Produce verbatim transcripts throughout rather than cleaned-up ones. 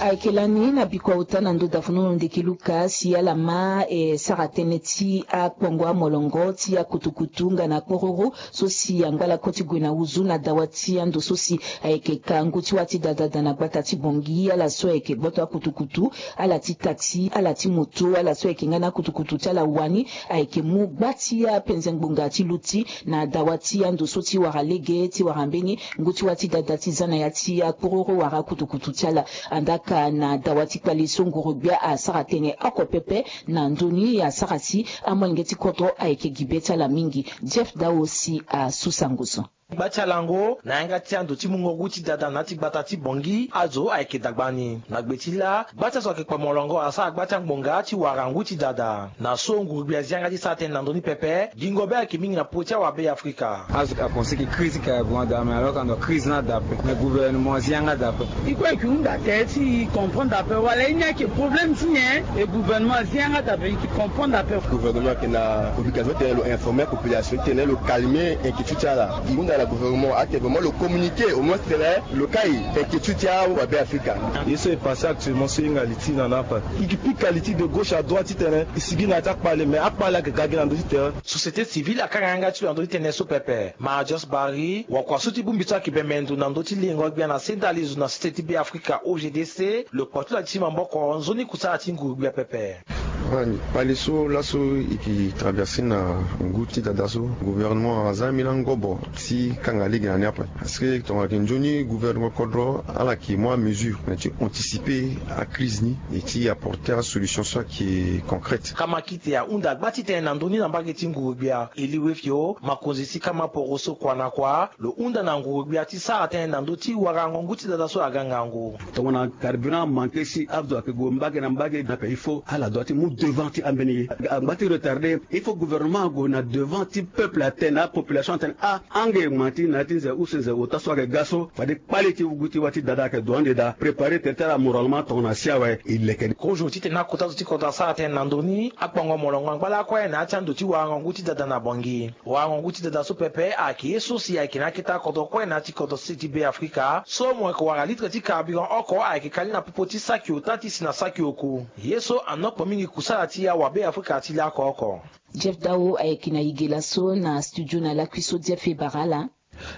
Ayeke lani na bikua ota na ndo davunu ndeke luka si ala ma e sara tënë ti akpongo amolongo ti akutukutu nga na kpororo so si angba lakue ti gue na huzu na dawa ti ando so si ayeke ka ngu ti wâ ti dadada na gbata ti bongi ala so ayeke gboto akutukutu, ala ti taxi, ala ti moto, ala so ayeke nga na akutukutu ti ala wani ayeke mu gba ti apenze ngbonga ti luti na dawa ti ando so ti wara lege ti wara mbeni ngu ti wâ ti dada ti za na ya ti akpororo wara akutukutu ti ala. Andaka na dawa ti kpale so nguru-gbia asara tënë oko pepe na ndoni asara si amolenge ti kodro ayeke gi be ti ala mingi. Jeff Dao si asu sango so. Gba ti alango na yanga ti ando ti mungo ngu ti dada na ya ti gbata ti bongi azo ayeke dagba ni na gbe ti laa gba ti azo ayeke kpa molongo asara gba ti angbonga ti wara ngu ti dada. Na so nguru-gbia azi yanga ti sara tënë na ndö ni pepe. Gingo be ayeke mingi na popo ti awabe ya afrika. Azo ka pense ke crise ka gue daa me alors ka ndo crise ni ada ape me gouvernement azi yanga daa ape. E kue e yeke hunda tënë ti e comprendre ape wala e ni ayeke problème ti nyen? E gouvernement azi yanga daa ape e yeke comprendre ape. Gouvernement ayeke na obligation ti tene lo informer population ti tene lo calmer inquiétude ti ala. E hunda na gouvernement ake vraiment lo communiquer au moins ti tene lo kai inquiétude ti awabe afrika. Ye so e passe actuellement so e hinga li ti na na ape. E yeke pika li ti de gauche à droite ti tene e sigi na ya ti akpale me akpale ayeke ga gi na ndö ti terrain. Société civile akanga yanga ti lo na ndö ti tënë so pepe. Marius Barry wakua so ti bongbi so ayeke bembe ndo na ndö ti lengo gbia na sendali zo na société ti be afrika OGDC lo kpa ti lo ati ti maboko nzoni kusala ti nguru-gbia pepe. Kpale so laso e yeke traverser na ngu ti dada so gouvernement aza ambeni angobo ti kanga lege na ni ape. Parce que tongana yeke nzoni gouvernement kodro ala yeke mu amesure na ti anticiper acrise ni et ti apporter asolution so ayeke concrète. Kamakite ahunda gba ti tene na ndö ni na mbage ti nguru-gbia e li wefio makonzi ti kama poro so kua na kua lo hunda na nguru-gbia ti sara tënë na ndö ti warango ngu ti dada so aga ngangu. Tongana carburant amanke si azo ayeke gue mbage na mbage na pe il faut ala doit ti mu devant ti ambeni ye. Angba ti retarder il faut gouvernement ague na devant ti peuple atene na apopulation atene ah ange ma ti na ya ti nze use nze ota so ayeke ga so fade kpale ti wugu ti wâ ti dada ayeke do ande daa préparer tere ti ala moralement tongana si awe e leke ni. Kozo ti tene akota zo ti kodro asara tënë na ndö ni akpongo molongo angba lakue na ya ti ando ti warango ngu ti dada na bongi. Warango ngu ti dada so pepe ayeke ye so si ayeke na akete akodro kue na ya ti kodro sese ti be afrika so mo yeke wara litre ti carburant oko ayeke kali na popo ti saki ota ti si na saki oku. Ye so anokpo mingi kusala ti awabe afrika ti laoko oko. Jeff Dao ayeke na yigela so na studio na lakui so Jeff e bara ala.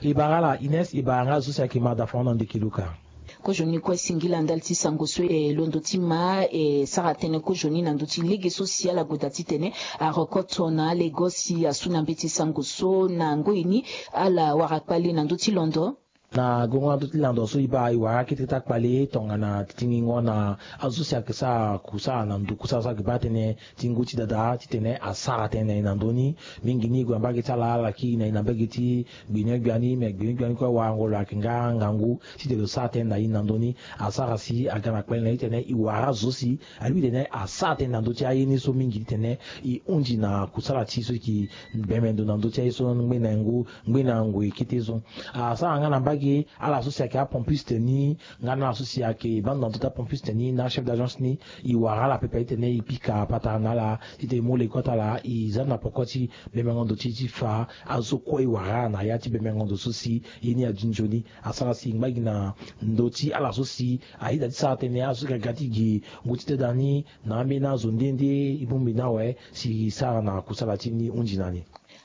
E bara ala Ines e bara nga zo so si ayeke ma dafa hon na ndeke luka. Kozoni kue singila ndali ti sango so e londo ti ma e sara tënë kozoni na ndö ti lege so si ala gue daa titene arokoto na alego si asu na mbeti sango so na ngoi ni ala wara kpale na ndö ti londo. Na gongo na ndö ti lando so e baa e wara akete ti akpale tongana tingingo na azo so si ayeke sara kusala na ndo kusala so ayeke baa tënë ti ngu ti dada titene asara tënë na e na ndö ni. Mingi ni e gue na mbage ti ala ala ki na e na mbage ti gbinigbia ni me gbinigbia ni kue warango lo ayeke nga ngangu titene lo sara tënë na e na ndö ni. Asara si aga na kpale na e titene e wara azo si alingbi titene asara tënë na ndö ti aye ni so mingi titene e hunzi na kusala ti e so e yeke bembe ndo na ndö ti aye so ngbe na ngu ngbe na ngoi kete so. Asara nga na mbage ala so si ayeke apompiste ni nga na ala so si ayeke baa ndo na ndö ti apompiste ni na achef d'agence ni. E wara ala pepe titene e pika patara na ala titene e mu lege kue ti ala e za na poko ti bemengo ndo ti e ti fa azo kue e wara ala na ya ti bemengo ndo so si ye ni adi nzoni. Asara si e ngba gi na ndö ti ala so si ayeda ti sara tënë azo so yeke ga ti gi ngu ti dada ni na ambeni azo nde nde e bongbi ni awe si e sara na kusala ti ni hunzi na ni.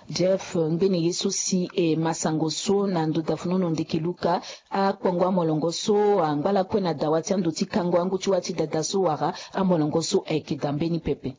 Jeff ngbene ye so si e ma sango so na ndo dafunu no ndeke luka akpongo amolongo so angba lakue na dawa ti ando ti kango angu ti wâ ti dada so wara amolongo so ayeke daa mbeni pepe.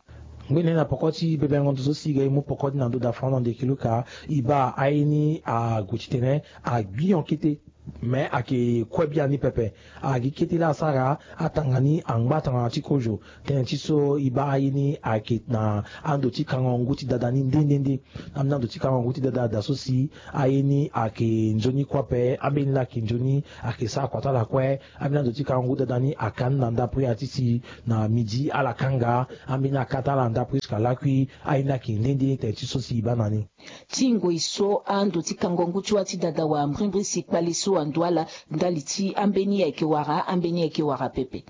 Ngbene na poko ti bebengo ndo so si e ga e mu poko ti na ndo dafunu no ndeke luka e baa aye ni ague titene agbi hon kete. Me ayeke kue biani pepe. Agi kete laa asara atanga ni angba tongana ti kozo tënë ti so e baa aye ni ayeke na ando ti kango ngu ti dada ni nde nde nde. Ambeni ando ti kango ngu ti dada daa so si aye ni ayeke nzoni kue ape. Ambeni laa ayeke nzoni ayeke sara kua ti ala kue. Ambeni ando ti kango ngu ti dada ni aka ni na ndapre ya ti si na midi ala kanga ambeni aka ti ala na ndapre jusqu'à lakui. Aye ni ayeke nde nde tene ti so si e baa na ni. Ti ngoi so ando ti kango ngu ti wâ ti dada wara mbrimbri si kpale so ando ala ndali ti ambeni ayeke wara ambeni ayeke wara pepe.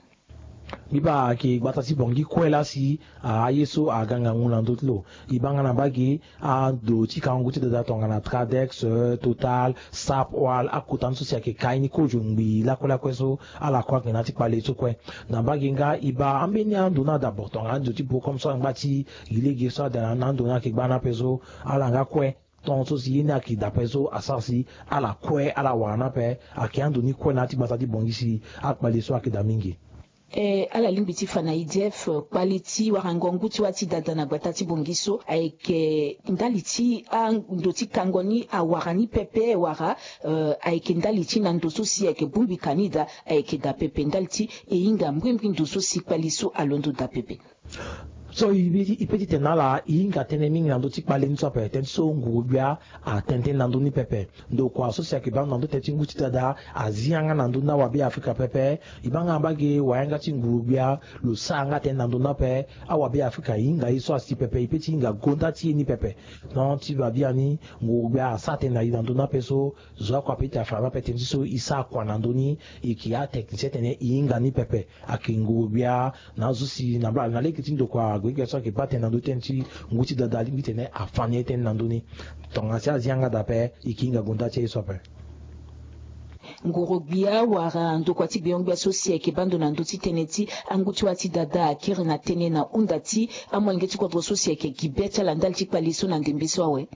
Mbi baa ayeke gbata ti Bangui kue laa si aye so aga ngangu na ndö ti lo. E baa nga na mbage ando ti kango ngu ti dada tongana Tradex, eh, Total, Sap, Oil, akota ni so si ayeke ka ye ni kozo ngbii lakue lakue so ala kue ayeke na ya ti kpale so kue. Na mbage nga e baa ambeni ando ni adabord tongana ando ti Bocom so angba ti gi lege so ada na ando ni ayeke gba ni ape so, ala nga kue. Tongaso si ye ni ayeke daa ape so asara si ala kue ala wara ni ape. Ayeke ando ni kue na ya ti gbata ti Bangui si akpale so ayeke daa mingi. Eh, ala lingbi ti fa na E D F, eh, kpale ti warango ngu ti wâ ti dada na gbata ti Bangui so ayeke ndali ti ando ti kango ni awara ni pepe wala, eh, ayeke ndali ti na ndo so si ayeke bongbi ka ni daa, ayeke daa pepe ndali ti e hinga mbrimbri ndo so si kpale so alondo daa pepe. So e pe ti tene na ala e hinga tënë mingi na ndö ti kpale ni so ape, tënë ti so nguru-gbia atene tënë na ndö ni pepe. Ndokua so si ayeke baa ndo na ndö tënë ti ngu ti dada azi yanga na ndö ni awabe Afrika pepe. E baa nga na mbage wayanga ti nguru-gbia lo sara nga tënë na ndö ni ape. Awabe Afrika e hinga ye so asi pepe, e pe ti hinga gonda ti ye ni pepe. Donc ti ba biani nguru-gbia asara tënë na e na ndö ni ape so, zo oko ape ti afa ni ape tënë ti so e sara kua na ndö ni. E yeke atechnicien tene e hinga ni pepe. Ayeke nguru-gbia na azo si na mbala na lege ti ndokua ague gbia so ayeke baa tënë na ndö ti tënë ti ngu ti dada alingbi tene afa ni ye tënë na ndö ni. Tongana si azi yanga daa ape e yeke hinga gonda ti aye so ape. Nguru-gbia wala ndokua ti gbenyo-gbia so si ayeke baa ndo na ndö ti tënë ti angu ti wâ ti dada akiri na tënë na hunda ti amolenge ti kodro so si ayeke gi be ti ala ndali ti kpale so na ndembe so awe.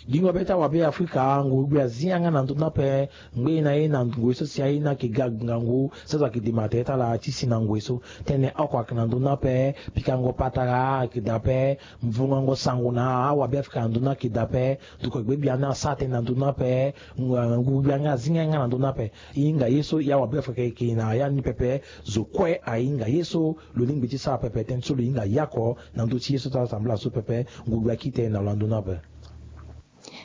Gingo be ti awabe Afrika, nguru-gbia azi yanga na ndö ni ape. Ngbene na ye na ngoi so si aye ni ayeke ga ngangu so azo ayeke dema tere ti ala ti si na ngoi so. Tënë oko ayeke na ndö ni ape. Pikango patara ayeke daa ape. Mvungango sango na awabe Afrika na ndö ni ayeke daa ape. Ndokua gbegbia ni asara tënë na ndö ni ape. Nguru-gbia nga azi yanga na ndö ni ape. E hinga ye so e awabe Afrika e yeke na ya ni pepe. Zo kue ahinga ye so lo lingbi ti sara pepe, tënë so lo hinga ye oko na ndö ti ye so ti ala tambula so pepe. Nguru-gbia akiri tënë na lo na ndö ni ape.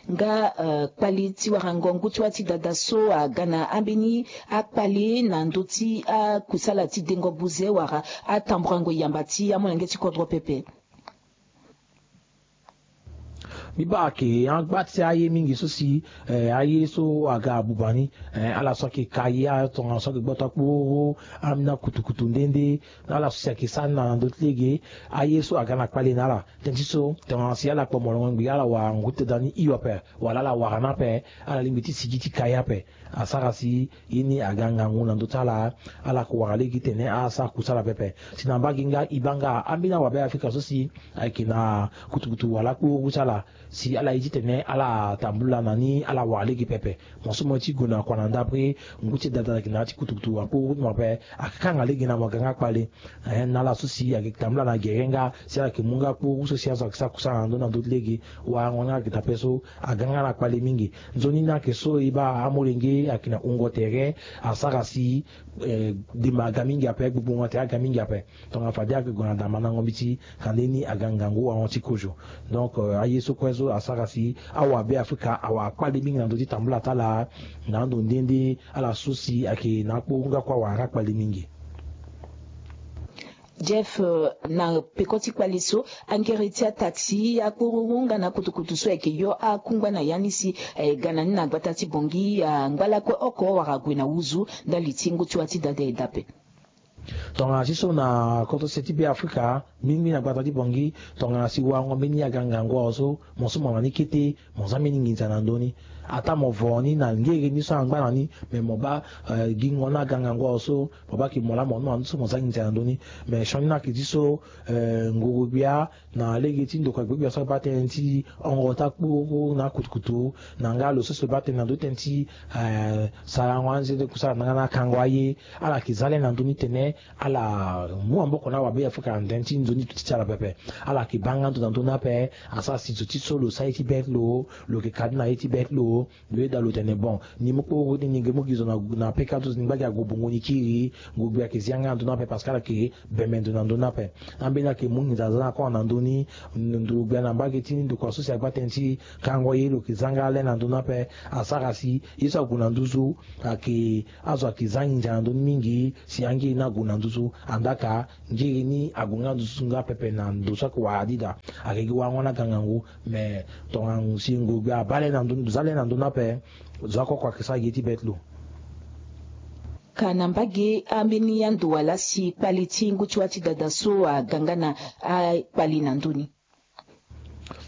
Nga, eh, kpale ti warango ngu ti wâ ti dada so aga na ambeni akpale na ndö ti akusala ti dengo buze wala atamburango yamba ti amolenge ti kodro pepe. Mbi baa ayeke angba ti aye mingi so si, eh, aye so aga abuba ni, eh, ala so ayeke ka ye, tongana so ayeke gboto akporo, ambeni akutukutu nde nde, ala so si ayeke sara ni na ndö ti lege. Aye so aga na kpale na ala. Tënë ti so tongana si ala kpo molongo ngbii ala wara ngu ti dada ni hio ape wala ala wara ni ape, ala lingbi ti sigi ti ka ye ape. Asara si ye ni aga ngangu na ndö ti ala. Ala yeke wara lege titene asara kusala pepe. Si na mbage nga e baa nga ambeni awabe Afrika so si ayeke na kutukutu wala akporo ti ala, si ala ye titene ala tambula na ni, ala wara lege pepe. Mo so mo ye ti gue na kua na ndapre, ngu ti dada ayeke na ya ti kutukutu akporo ti mo ape, akanga lege na mo aga nga kpale. Eh, na ala so si ayeke tambula na gere nga si ala yeke mu nga kpuru so si azo ayeke sara kusala na ndö na ndö ti lege. Warango ni ayeke daa ape so aga nga na kpale mingi. Nzoni ni ayeke so e baa amolenge ayeke na wungo tere, asara si, eh, dema aga mingi ape, gbogbongo tere aga mingi ape. Tongana fade ayeke gue na daa mandango mbeti, kande ni aga ngangu warango ti kozo. Donc, eh, aye so kue so asara si awabe Afrika awara kpale mingi na ndö ti tambula ti ala. Na ando nde nde ala so si ayeke na akporo nga kue awara nga kpale mingi. Jeff, eh, na peko ti kpale so, angere ti ata ti akpororo nga na akutukutu so ayeke yo akungba na ya ni si, eh, ga na ni na gbata ti Bangui, ah, ngba lakue oko wara gue na wuzu ndali ti ngu ti wâ ti dada e daa ape. Tongana si so na kodro se ti Be Afrika, mingi na gbata ti Bangui, tongana si warango mbeni aga ngangu awe so, mo so mo na ni kete, mo za mbeni nginza na ndö ni. Ataa mo vo ni na ngere ni so angba na ni, me mo baa, eh, gingo ni aga ngangu awe so, mo baa yeke mo laa mo ni mo na ni so mo za nginza na ndö ni. Me sioni ni ayeke ti so, eh, nguru-gbia na lege ti ndokua gbegbia so abaa tënë ti hongo ti akporo na akutukutu, na nga lo so si lo baa tënë na ndö ti tënë ti, eh, sarango anze ti kusala na nga na akango aye. Ala yeke za le na ndö ni tene ala mu maboko na awabe Afrika na tënë ti nzoni duti ti ala pepe. Ala yeke baa nga ndo na ndö ni ape. Asara si zo ti so lo sara ye ti be ti lo, lo yeke ka ni na ye ti be ti lo. Lo yeda lo tene bon, ni mu kporo ni, ni ge mu gi zo na, na peka ti zo, ni ngba gi ague bongo ni kiri. Nguru-gbia ayeke zi yanga na ndö ni ape parce que ala yeke bembe ndo na ndö ni ape. Ambeni ayeke mu nginza za na kua na ndö ni. Nguru-gbia na mbage ti ni ndokua so si agba tënë ti kango ye lo yeke za nga le na ndö ni ape. Asara si ye so ague na nduzu ayeke, azo ayeke za nginza na ndö ni mingi. Si angiri ni ague na nduzu, andaa ka ngiri ni ague nga nduzu nga pepe na ndo so ayeke wara dida. Ayeke gi warango ni aga ngangu. Me tongana si nguru-gbia abaa le na ndö ni, za le na ndö ni ape, zo oko oko ayeke sara gi ye ti be ti lo. Ka na mbage ambeni ando wala si kpale ti ngu ti wâ ti dada so aga nga na akpale na ndö ni.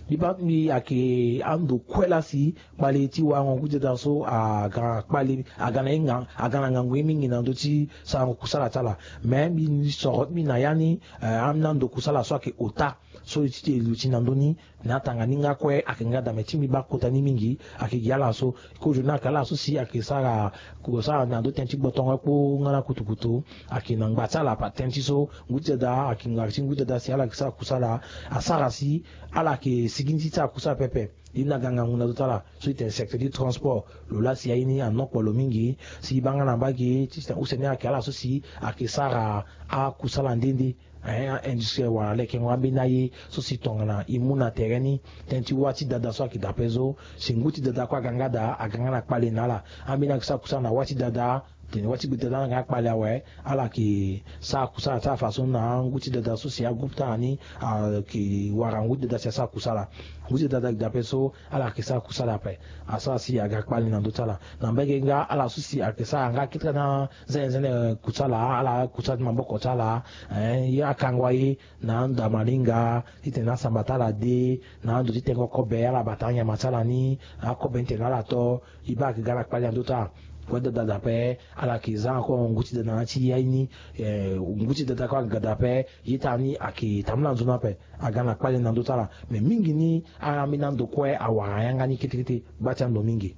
Mbi baa mbi ayeke ando kue laa si kpale ti warango ngu ti dada so aga kpale aga na ye ngangu aga na ngangu ye mingi na ndö ti sarango kusala ti ala. Me mbi soro ti mbi na ya ni, eh, ambeni ando kusala so ayeke ota so e ti te e luti na ndö ni. Na atanga ni nga kue ayeke nga daa me ti mbi baa kota ni mingi. Ayeke gi ala so kozo ni ayeke ala so si ayeke sara kusala na ndö tënë ti gbotongo kpo nga na kutukutu. Ayeke na ngba ti ala ape tënë ti so ngu ti dada ayeke ngba ti ngu ti dada si ala yeke sara kusala. Asara si ala yeke sigi ni ti sara kusala pepe. Ye ni aga ngangu na ndö ti ala so e tene secteur ti transport. Lo laa si aye ni anokpolo mingi si e baa nga na mbage ti tene use ni ayeke ala so si ayeke sara akusala nde nde. Hein, industriel wala lekengo ambeni aye so si tongana e mu na tere ni tënë ti wâ ti dada so ayeke daa ape so. Si ngu ti dada kue aga nga daa aga nga na kpale na ala. Ambeni ayeke sara kusala na wâ ti dada tene wâ ti gbe dada ni aga nga kpale awe. Ala yeke sara kusala ti ala façon na angu ti dada so si agroupe ti ala ni ayeke wara ngu ti dada si asara kusala. Ngu ti dada ayeke daa ape so ala yeke sara kusala ape. Asara si aga kpale na ndö ti ala na mbage nga ala so si ayeke sara nga kete na zene zene kusala ala kusala ti maboko ti ala. Hein, ye akango aye na ando ya malinga titene asamba ti ala de na ando ti tengo kobe ala bata anyama ti ala ni. Akobe ni tene ala to. E baa ayeke ga na kpale na ndö ti ala. Kue dada daa ape ala yeke za encore ngu ti dada na ya ti ya ye ni. Eh, ngu ti dada kue aga daa ape. Ye ti ala ni ayeke tambula nzoni ape. Aga na kpale na ndö ti ala. Me mingi ni ambeni ando kue awara yanga ni kete kete. Gba ti ando mingi.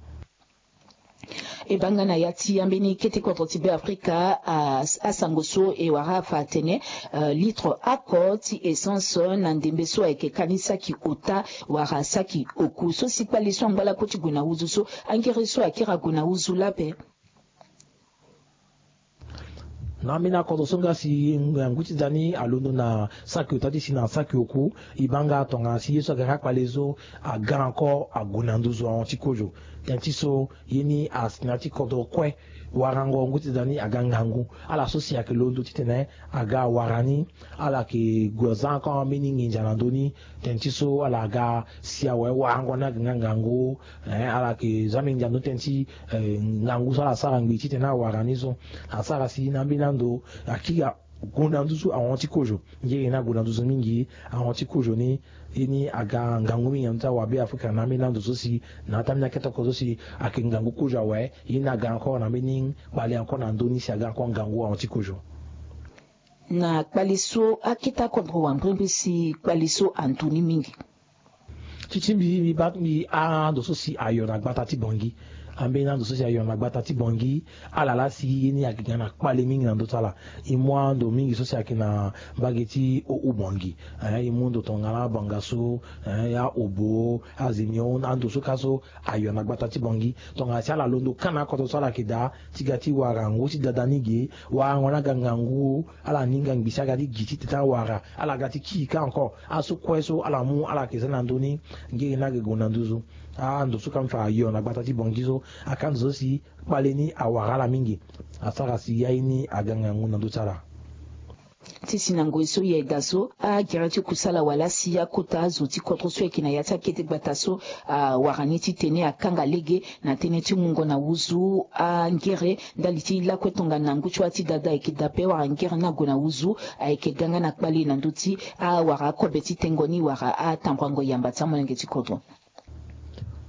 E baa nga na ya ti ambeni kete kodro ti Beafrika, ah, asango so e wara afa atene, eh, litre oko ti essence na ndembe so ayeke ka ni saki ota wala saki oku so si kpale so angba lakue ti gue na nduzu so angere so akiri ague na nduzu laa ape. Na ambeni akodro so nga si ngu ti da ni alondo na saki ota ti si na saki oku. E baa nga tongana si ye so aga nga kpale so aga encore ague na nduzu ahon ti kozo. Tënë ti so ye ni asi na ya ti kodro kue. Warango ngu ti da ni aga ngangu. Ala so si ayeke londo titene aga awara ni. Ala yeke gue za encore ambeni nginza na ndö ni. Tënë ti so ala ga si awe warango ni aga nga ngangu. Eh, ala yeke za mingi na ndö tënë ti, eh, ngangu so ala sara ngbii titene awara ni so. Asara si na ambeni ando akiri ague na nduzu ahon ti kozo. Ngiri ni ague na nduzu mingi ahon ti kozo ni. Ye ni aga ngangu mingi na ndö ti awa Beafrika na ambeni ando so si na ya ti ambeni akete oko so si ayeke ngangu kozo awe. Ye ni aga encore na mbeni kpale encore na ndö ni si aga encore ngangu ahon ti kozo. Na kpale so akete akodro wangbre mbi si kpale so antu ni mingi. Ti ti mbi mbi baa mbi ando so si ayo na gbata ti Bangui. Ambeni ando so si ayo na gbata ti Bangui. Ala laa si ye ni ayeke ga na kpale mingi na ndö ti ala. E mu ando mingi so si ayeke na mbage ti Haut-Oubangui. Eh, e mu ndo tongana Bangassou, eh, ya Obo, Azemio, ando so ka so ayo na gbata ti Bangui. Tongana si ala londo ka na akodro so ala yeke daa ti ga ti wara ngu ti dada ni ge. Warango ni aga ngangu. Ala ni nga ngbii si aga ti gi titene awara. Ala ga ti kii ka encore. Aso kue so ala mu ala yeke za na ndö ni. Ngiri ni aga gue na nduzu. Ando so ka mbi fa ayo na gbata ti Bangui so aka ndo so si kpale ni awara ala mingi. Asara si ya ye ni aga ngangu na ndö ti ala. Ti si na ngoi so ye da so agere ti kusala wala si akota azo ti kodro so ayeke na ya ti akete gbata so awara ni titene akanga lege na tënë ti mungo na nduzu angere ndali ti lakue tongana ngu ti wâ ti dada ayeke daa ape wala ngere ni ague na nduzu ayeke ga nga na kpale na ndö ti awara akobe ti tengo ni wala atambuango yamba ti amolenge ti kodro.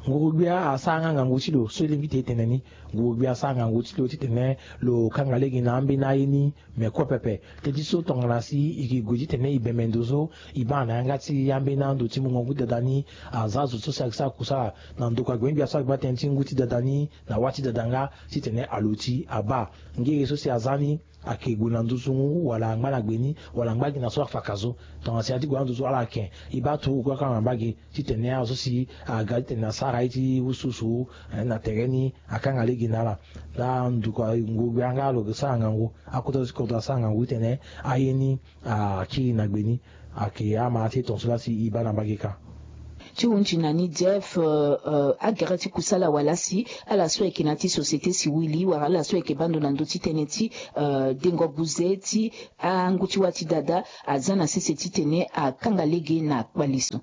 Nguru-gbia asara nga ngangu ti lo so e lingbi ti e tene ni. Nguru-gbia asara ngangu ti lo titene lo kanga lege na ambeni aye ni. Me kue pepe tënë ti so tongana si e ke gue titene e bembe ndo so e baa na yanga ti ambeni ando ti mungo ngu ti dada ni. Aza zo so si ayeke sara kusala na ndokua gbengbi aso ayeke baa tënë ti ngu ti dada ni na wâ ti dada nga titene aluti abaa ngiri so si aza ni. Ayeke gue na nduzu wala angba na gbe ni wala angba gi na so afa ka zo. Tongana si aye ti gue na nduzu ala yeke e baa turu kue akanga na mbage titene azo so si aga titene asara ye ti wusuwusu na tere ni akanga lege na ala. Nda nduku ngurugbe yanga lo yeke sara ngangu. Akota zo ti kodro asara ngangu titene aye ni akiri na gbe ni. Ayeke ama ti e tongaso laa si e baa na mbage ka. Ti hunzi na ni Jeff, agere ti kusala wala si ala so ayeke na ya ti société civile wala ala so ayeke baa ndo na ndö ti tënë ti dengo buze ti angu ti wâ ti dada aza na sese titene akanga lege na kpale so.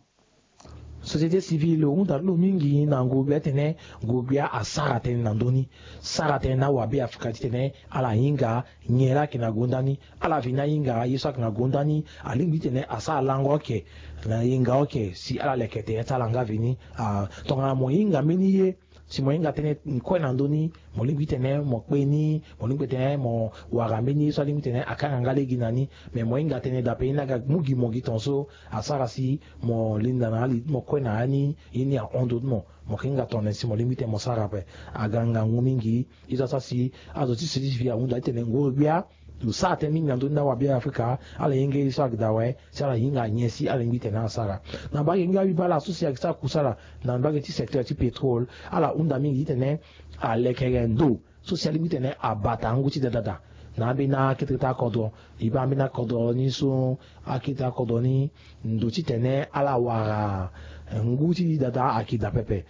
Société civile hunda ti lo mingi na nguru-gbia titene nguru-gbia asara tënë na ndö ni. Sara tënë na awabe afrika titene ala hinga nyen laa ayeke na gonda ni. Ala veni ahinga ye so ayeke na gonda ni alingbi titene asara lango oke na yenga oke si ala leke tënë ti ala nga veni. Tongana mo hinga mbeni ye si mo hinga tënë kue na ndö ni, mo lingbi titene mo kpe ni, mo lingbi titene mo wara mbeni ye so alingbi titene akanga nga lege na ni. Me mo hinga tënë dape ye ni aga mu gi mo gi tongaso asara si mo linda na ali ti mo kue na ya ni. Ye ni ahon ndö ti mo. Mo ke hinga tongana nyen si mo lingbi titene mo sara ape. Aga ngangu mingi. Ye so asara si azo ti sirisi fi ahunda titene nguru-gbia lo sara tënë mingi na ndö ni na awabe afrika. Ala yenge ye so ayeke daa awe si ala hinga nyen si ala lingbi titene ala sara. Na mbage nga abiba ala so si ayeke sara kusala na mbage ti secteur ti pétrole, ala hunda mingi titene alekere ndo so si alingbi titene abata ngu ti dada daa na ambeni akete ti akodro. E baa ambeni akodro ni so akete ti akodro ni ndo titene ala wara ngu ti dada ayeke daa pepe.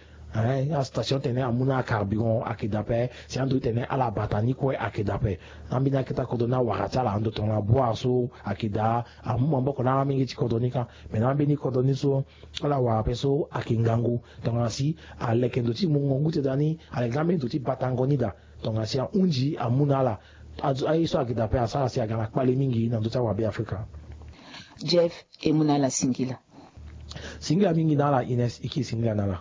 Astation titene amu na acarburant ayeke daa ape. Si ando titene ala bata ni kue ayeke daa ape. Ambeni akete ti akodro ni awara ti ala ando tongana boire so ayeke daa amu maboko na amolenge ti kodro ni kâ. Me na ambeni kodro ni so ala wara ape so ayeke ngangu tongana si aleke ndo ti mungo ngu ti dada ni, aleke na ambeni ndo ti batango ni daa. Tongana si ahunzi amu na ala aye so ayeke daa ape asara si aga na kpale mingi na ndö ti awabe afrika. Jeff, e mu na ala singila. Singila mingi na ala Ines, e kiri singila na ala.